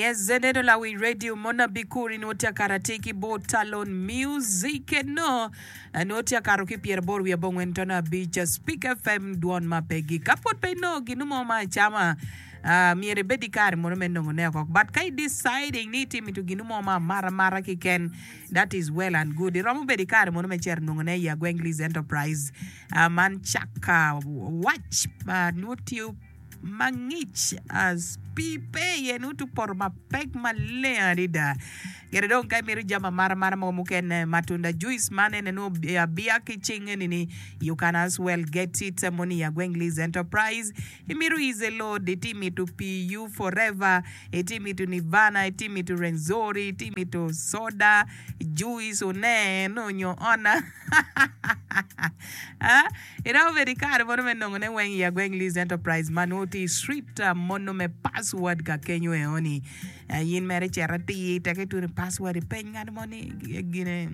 Yes, zeneno lawiny radio mona bikuri nwo tye akato atir ki bot Talon Music eno nwo tye akato ki pyeraboro wiye abongwen tono abic Speak FM dwon ma pe gik. Ka pwod pe inongo ginu mo ma acama ah, myero ibed ki kare mono me nongo ne oko but ka i deciding ni itye mito ginu mo ma amata amata kiken that is well and good. Iromo bedo ki kare mono me cito nongo ne i Agweng Liz Enterprise ah, man caka wac ma nwo tye mangic as pii pe iye nongo tye opoto mapek maleng adada kede dong ka imito jami amata amata mogo mukene matunda juice man ene nongo abiya ki cing eni ni you can as well get it moni i Agweng Liz Enterprise imito easy load iti mito pii you forever iti mito nirvana iti mito renzori iti mito soda juice one eno nyo ona Iromo bedo ki kare mono me nongone weng i Agweng Lease Enterprise ma nongo tye i street mono me Password ka kenyo eoni. In mere icito atir teke itwero password ipeny ngat mo ni gine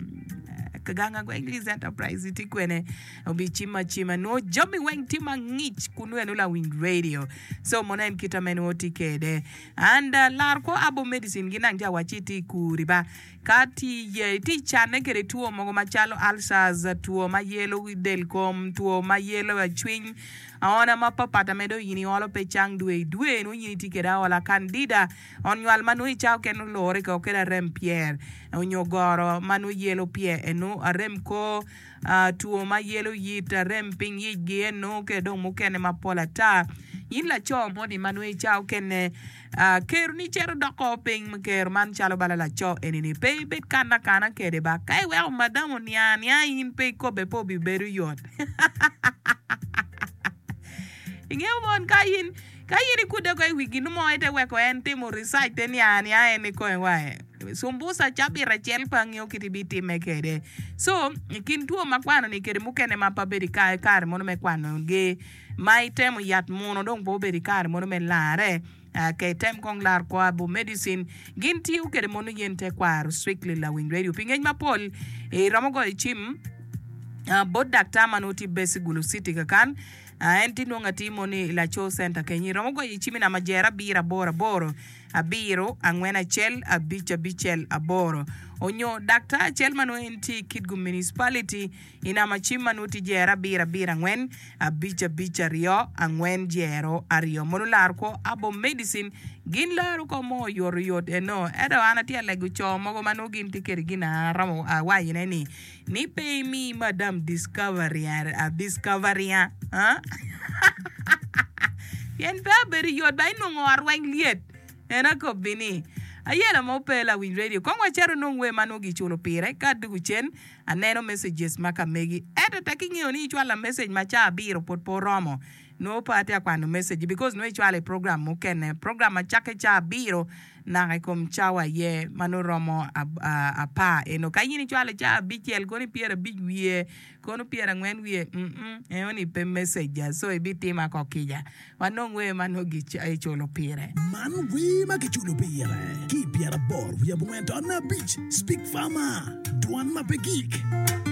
gang Agweng Lease Enterprise tye kwene obicimo acima nongo jami weng tye mangic kunu eno lawiny radio. So mono en kita me nongo tye kede. And lar kwo Abo Medicine gin nang tye awacci tye i kuri ba. Ka tye iye, itye i canne kwede two mogo macalo ulcers, two ma yelo del kom, two ma yelo cwiny, aona mapapat ame dong in iolo pe cang dwe i dwe nongo in itye kwede aola, candida, ot nywal ma nongo i cawa okene olure ko kede arem pyer onyo goro ma nongo yelo pyer eno, arem kor, two ma yelo yit, arem piny yicgi eno kede dong mukene mapol ata. In laco moni ma nongo i cawa okene Keroni cito doko piny me ker man calo bala laco eni-ni. Pe ibed kanne akana kede ba. Ka iweko madam oniang anianga in pe ikobbe pe obibedo yot. Ingeyo mon ka in ka in ikudde ko i wi gin mo ite weko en timo research te niang anianga en ikome wa cumbusa cabit acel pe angeyo kit ibitime kede. So i kin two ma kwano-ni kede mukene ma pe abedo i kare mono me kwanogi ma itemo yat muno dong pe obedo i kare mono me larre ka item kong lar kwo abo medicine gin tiyo kede mono yen tekwaro strictly lawiny radio pi ngec mapol iromo goyo cim bot daktar ma nongo tye base i Gulu city kakan en tye nongo atir mono i Laco center kenyo iromo goyo i cim i namba jero abiro aboro aboro abiro angwen acel abic abicel aboro onyo daktar acel ma nongo en tye i Kitgum municipality I namba cim ma nongo tye jero abiro abiro angwen abic abic aryo angwen jero aryo mono laro kwo Abo Medicine gin laro ko mo oyot oyot eno ento an atye alego co mogo ma nongo gin tye kede gin aromo awaco ne ni ni pe imi madam discovery discovery pien pe abedo yot ba inongo ot weng lyet en akobbi ni ayela mo pe lawiny radio kong wacito nong wer ma nongo giculo pire ka adugu cen Aneno messages ma ka megi ento tek ingeyo ni icwala message ma caa abiro pwod pe oromo nongo pe atye ka kwano message because nongo icwalo i program mukene program ma cakke caa abiro naka i kom cawa aye ma nongo romo apar eno ka in icwalo caa abicel kono pyerabic wiye kono pyerangwen wiye mm enoni pe message so ibitima ko kica. Wanong wer ma nongo giculo pire. Man wer ma kiculo pire ki i pyeraboro wiye abongwen to abic Speak Farmer, Dwan ma pe gik.